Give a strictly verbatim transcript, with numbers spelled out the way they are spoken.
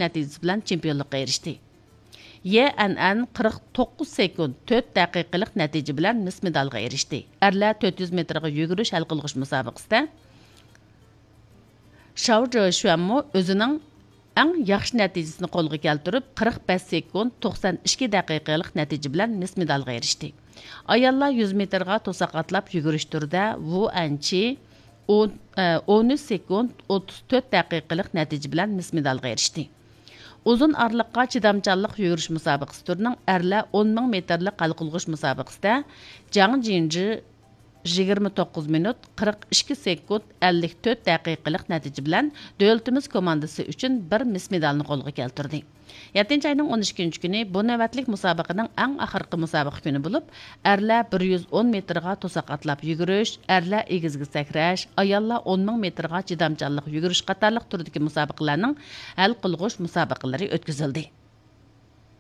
نەتىجىسى بىلەن چېمپىيونلۇققا ئېرىشتى. يې ئەنئەن قىرىق توققۇز سېكۇنت تۆت دەقىقىلىق نەتىجە بىلەن مىس مېدالغا ئېرىشتى. ئەرلەر تۆت يۈز مېتىرغا يۈگۈرۈش ھەل قىلغۇچ مۇسابىقىسىدە شاۋ جوشۈەنمۇ ئۆزىنىڭ ئەڭ ياخشى نەتىجىسىنى قولغا كەلتۈرۈپ، قىرىق بەش سېكۇنت توقسان ئىككى دەقىقىلىق نەتىجە بىلەن مىس مېدالغا ئېرىشتى. ئاياللار يۈز مېتىرغا توساق ئاتلاپ يۈگۈرۈش تۈرىدە ۋۇ ئەنچى ئون، ئون ئۈچ سېكۇنت ئوتتۇز تۆت دەقىقىلىق نەتىجە بىلەن مىس مېدالغا ئېرىشتى. ئۇزۇن ئارىلىققا چىدامچانلىق يۈگۈرۈش مۇسابىقىسى تۈرىنىڭ ئەرلەر ئون مىڭ مېتىرلىق ھەل قىلغۇچ مۇسابىقىسىدە جاڭ جىنجى يىگىرمە توققۇز مىنۇت، قىرىق ئىككى سېكۇنت، ئەللىك تۆت دەقىقىلىق نەتىجە بىلەن دۆلىتىمىز كوماندىسى ئۈچۈن بىر مىس مېدالنى قولغا كەلتۈردى. يەتتىنچى ئاينىڭ ئون ئىككىنچى كۈنى بۇ نۆۋەتلىك مۇسابىقىنىڭ ئەڭ ئاخىرقى مۇسابىقە كۈنى بولۇپ، ئەرلەر بىر يۈز ئون مېتىرغا توساق ئاتلاپ يۈگۈرۈش، ئەرلەر ئېگىزگە سەكرەش، ئاياللار ئون مىڭ مېتىرغا چىدامچانلىق يۈگۈرۈش قاتارلىق تۈردىكى مۇسابىقىلەرنىڭ ھەل قىلغۇچ مۇسابىقىلىرى ئۆتكۈزۈلدى.